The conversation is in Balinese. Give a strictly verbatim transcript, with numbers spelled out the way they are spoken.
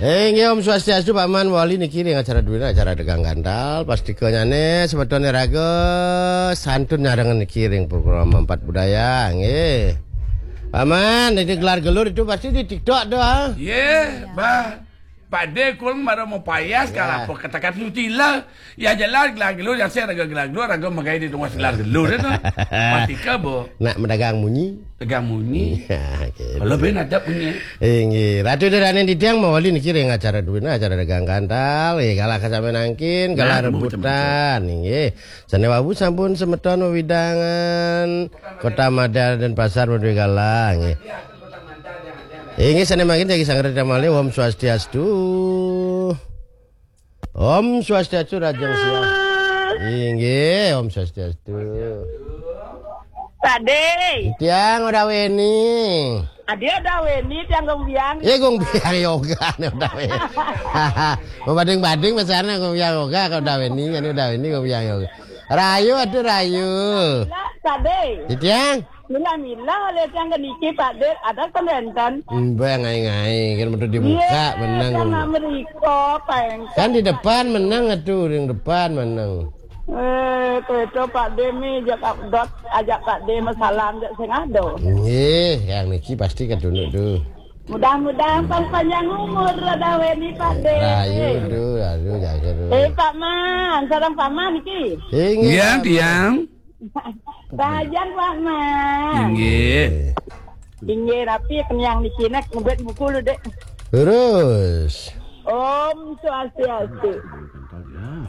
Eh, inggih, Om Swastiastu, Paman. Wali niki ring acara duwina, acara Dagang Gantal. Pastika nyane, semeton iraga santun nyarengin niki ring program Empat Budaya, nggih. Paman, ini gelar gelur itu pasti di TikTok tuh, ah. Ye, bah. Pade kul mara mau payas kalau apa kata-kata sutila. Ya jelas gelar gelur, ya saya raga gelar gelur, raga magai di tengah gelar gelur itu. Pastika bo. Nak mendagang munyi. Tegang munyi. Ya, gitu. Kalau ben ada punya. Inggih, Ratu Daraning Titiang mawali niki ring acara duwina, acara Dagang Gantal. Eh, galah kasami nangkin, galah Nah, rebutan. Inggih. Sane wau sampun semeton wewidangan Kota Madar dan Pasar madué galah, nggih. Inggih, sane mangkin jagi sanget malih, Om Swastiastu. Om Swastiastu, Rajeng Siang. Inggih, Om Swastiastu. Pakde. Tiang Uda Weni. Adi Uda Weni, tiang Gong Biang. Ya, Gong Biang Yoga nih Uda Weni. Mau banding-banding misalnya Gong Biang Yoga ke Uda Weni, kan Uda Weni Gong Biang Yoga. Rayu, aduh, rayu. Lah, Pakde. Tiang. Mila-mila oleh tiang ke niki, Pakde. Ada kan wenten. Mbak ngai-ngai kan betul dibuka, menang. Tiang nak meriko, peng. Kan di depan menang, aduh, ring depan menang. Eh, kereta Pakde mi ajak dot, ajak Pakde masalam jak sing ada. Nggih, yang niki pasti ketunduk tuh. Mudah-mudahan pang panjang umur Uda Weni, Pakde. Rayu tuh, aduh, jaga tuh. Eh, Pak Man, sareng Pak Man niki. Inggih, Ya, Pak. Tiang. Rahayu, Pak Man. Inggih. Inggih, rapi kenyang niki nek ngebet buku lu, Dek. Terus. Om Swastiastu.